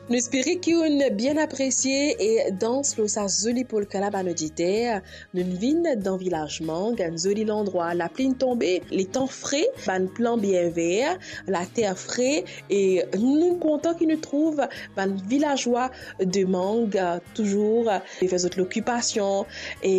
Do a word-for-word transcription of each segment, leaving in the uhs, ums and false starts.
Nou espere ki ou'nn bien apresie e dans lor sa zoli polka la, bann oditer. Nou'nn vinn dan vilaz Mang, enn zoli landrwa, lapli inn tonbe, letan fre, bann plan bien ver, later fre, e nou kontan ki nou trouv bann vilazwa de Mang, touzour, pe fer zot lokipasion, e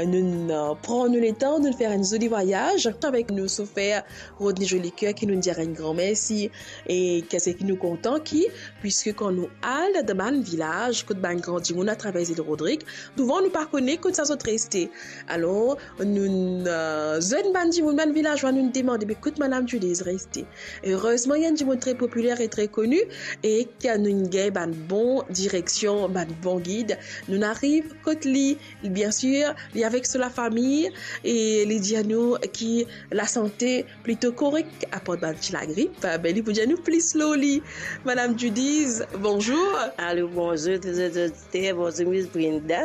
nou, nou pran nou letan, nou fer enn zoli vwayaz avek nou sofer Rodney Jolicoeur, ki nou dir enn gran mersi, e ki, ki nou kontan ki, piski kan nou al dan bann vilaz, kot bann gran dimoun atraver Zil Rodrig, souvan nou pa kone kot sa zot reste. Alor, nou, eh, zwenn bann dimoun, bann vilazwa, nou demande, be kot Madam Judy reste. Erezman, li enn dimoun tre popiler e tre koni, e ki nou gagn bann bon direksion, bann bon gid. Nou ariv kot li, bien sir, li avek so lafami, e li dir nou ki lasante plito korek, apar bann ti lagrip, be li pou dir nou plis lor li. Madam Judy, bonzour. Alo, bonzour tou zot oditer, bonzour Miss Brenda.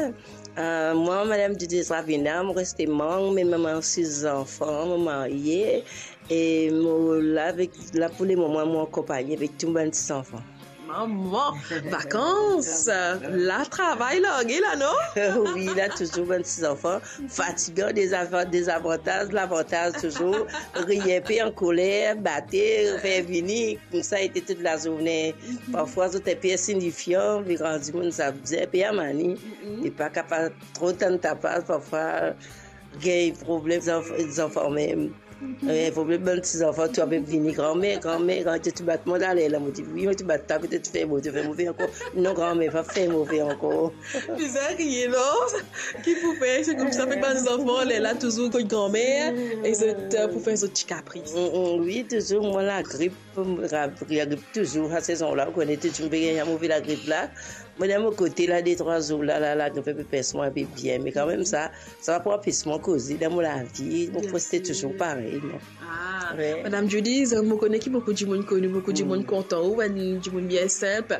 Eh, mwa, Madam Judy Ravina, mo reste Mang, me mama sis zanfan, mo marye, e mo la avek, la pou lemoman, mo ankonpagne avek tou bann ti zanfan. Mama, vakans, la travay large la, non? Wi, la touzour bann ti zanfan, fatigan, dezava-, dezavantaz, lavantaz touzour, riye pe, ankoler, bate, fer vini, koumsa ete tou lazourne. Parfwa zot inpe insignifian, vinn rann dimoun sa bizin, inpe amani, e pa kapav tro tann tapas, parfwa gagn problem zanf-, zanfan mem. Eh, problem bann ti zanfan, tou ape vini, "Granmer, granmer, granmer, to ti bat mwa laler la." Mo dir, "Wi, mo ti bat twa, to ti fer mo, to fer move ankor." "Non, granmer, pa fer move ankor." Bizin riye, non? Ki pou fer, se koumsa, fek bann zanfan, lerla touzour kot granmer, e zot, eh, pou fer zot ti kapris. Mm, mm, wi, touzour, mwa lagrip, lagrip touzour, sa sezon la, ou kone, touzour pe gagn move lagrip la. Mwa, dan mo kote la, de trwa zour la, la, lagrip pe pes mwa inpe bien, me kanmem sa, sa pa pou anpes mwa koze dan mo lavi, mo reste touzour parey, non. Ah, Madam Judy, mo kone ki boukou dimoun koni, boukou dimoun kontan ou, bann dimoun bien sinp.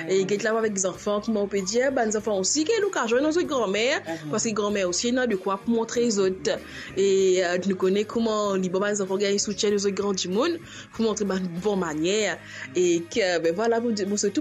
E get la avek zanfan, kouma ou pe dir, bann zanfan osi gagn lokazion dan zot granmer, paski granmer osi ena dekwa pou montre zot. E, eh, nou kone kouma li bon bann zanfan gagn soutien de zot gran dimoun, pou montre bann bon manier. E ki, be vwala, mo, mo swete